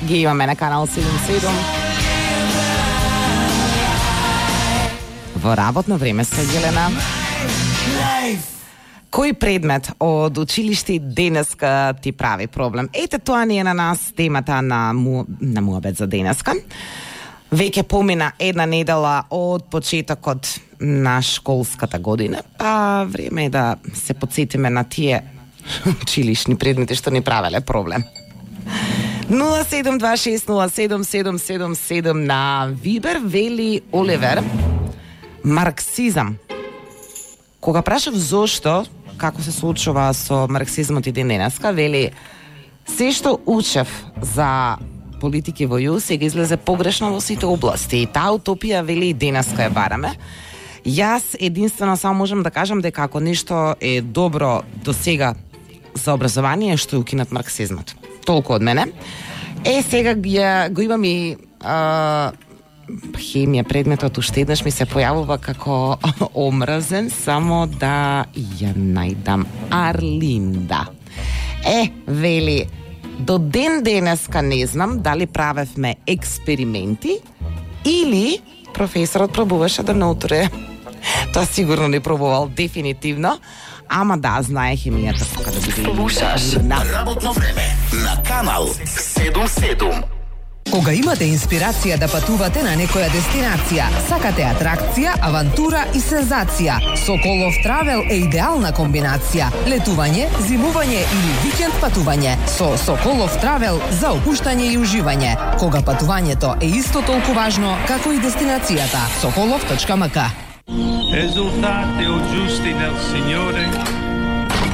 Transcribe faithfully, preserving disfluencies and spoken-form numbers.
ги имаме на канал седум седум. Во работно време со Јелена. Кој предмет од училиште денеска ти прави проблем? Ете, тоа не е на нас темата на, му, на муабет за денеска. Веќе помина една недела од почетокот на школската година, па време е да се подсетиме на тие училишни предмети што ни правеле проблем. нула седум два шест нула седум седум седум седум на Вибер, вели Оливер. Марксизам. Кога прашав зошто, како се случува со марксизмот и ден денеска, вели се што учев за политики во ју сега излезе погрешно во сите области. И таа утопија, вели, и денеска ја бараме. Јас единствено само можам да кажам дека ако нешто е добро до сега за образование, што е укинат марксизмот. Толку од мене. Е, сега ја, го имам и а, хемија предметот, уште еднаш ми се појавува како омразен, само да ја најдам. Арлинда. Е, вели, до ден денеска не знам дали правевме експерименти или професорот пробуваше да наутре. Тоа сигурно не пробувал, дефинитивно. Ама да, знае хемијата пока да биде. Слушаш работно време на канал седум седум. Кога имате инспирација да патувате на некоја дестинација, сакате атракција, авантура и сензација, Соколов Травел е идеална комбинација. Летување, зимување или викенд патување со Соколов Травел за опуштање и уживање. Кога патувањето е исто толку важно како и дестинацијата. Соколов точка ем ка. Esultate o giusti nel Signore,